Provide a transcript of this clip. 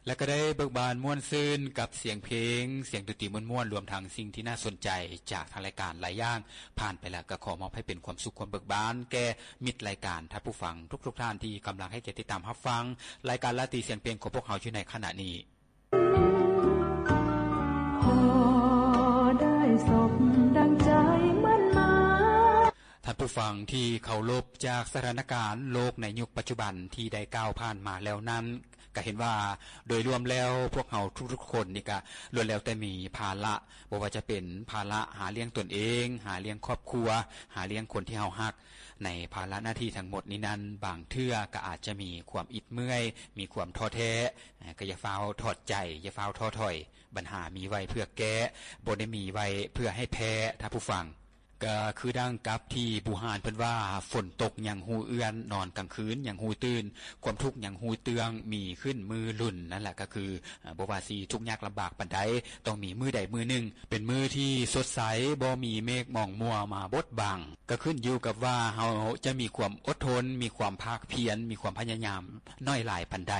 ແລະກໍໄດ້ເບີກບານມ່ວນຊື່ນກັບສຽງເພງ, ສຽງດົນຕີມ່ວນໆ, ລວມທັງສິ່ງທີ່ໜ້າສົນໃຈຈາກທາງລາຍການຫຼາຍຢ່າງຜ່ານໄປແລ້ວ, ກໍຂໍມອບໃຫ້ເປັນຄວາມສຸກຄວາມເບີກບານແກ່ມິດລາຍການ, ທ່ານຜູ້ຟັງທຸກໆທ່ານທີ່ກຳລັງໃຫ້ກຽດຕິດຕາມຮັບຟັງລາຍການລາຕີສຽງເພງຂອງພວກເຮົາຢູ່ໃນຂະນະນີ້. ພໍໄດ້ສົມດັ່ງໃຈໝັ້ນໝາຍ. ທ່ານຜູ້ຟັງທີ່ເຄົາລົບ, ຈາກສະຖານະການໂລກໃນຍຸກປັດຈຸບັນທີ່ໄດ້ກ່າວຜ່ານມາແລ້ວນັ້ນ, ກໍເຫັນວ່າໂດຍລວມແລ້ວພວກເຮົາທຸກໆຄົນນີ້ກະລ້ວນແລ້ວແຕ່ມີພາລະ, ບໍ່ວ່າຈະເປັນພາລະຫາລ້ຽງຕົນເອງ, ຫາລ້ຽງຄອບຄົວ, ຫາລ້ຽງຄົນທີ່ເຮົາຮັກ. ໃນພາລະໜ້າທີ່ທັງໝົດນີ້ນັ້ນ, ບາງເທື່ອກໍອາດຈະມີຄວາມອິດເມື່ອຍ, ມີຄວາມທໍ້ແທ້, ກໍຢ່າຟ້າວຖອດໃຈ, ຢ່າຟ້າວທໍ້ຖອຍ. ບັນຫາມີໄວ້ເພື່ອແກ້, ບໍ່ໄດ້ມີໄວ້ເພື່ອໃຫ້ແພ້, ທ່ານຜູ້ຟັງ. ກໍຄືດັ່ງກັບທີ່ບູຮານເພິ່ນວ່າ, ຝົນຕົກຍັງຮູ້ເອື້ອນ, ນອນກາງຄືນຍັງຮູ້ຕື່ນ, ຄວາມທຸກຍັງຮູ້ເຕື້ອງ, ມີຂຶ້ນມື້ລຸ້ນ. ນັ້ນແຫຼະກໍຄື, ບໍ່ວ່າຊິທຸກຍາກລຳບາກປານໃດ, ຕ້ອງມີມື້ໃດມື້ໜຶ່ງເປັນມື້ທີ່ສົດໃສ, ບໍ່ມີເມກໝອງມົວມາບົດບັງ. ກໍຂຶ້ນຢູ່ກັບວ່າເຮົາຈະມີຄວາມອົດທົນ, ມີຄວາມພາກພຽນ, ມີຄວາມພະຍາຍາມໜ້ອຍຫຼາຍປານໃດ.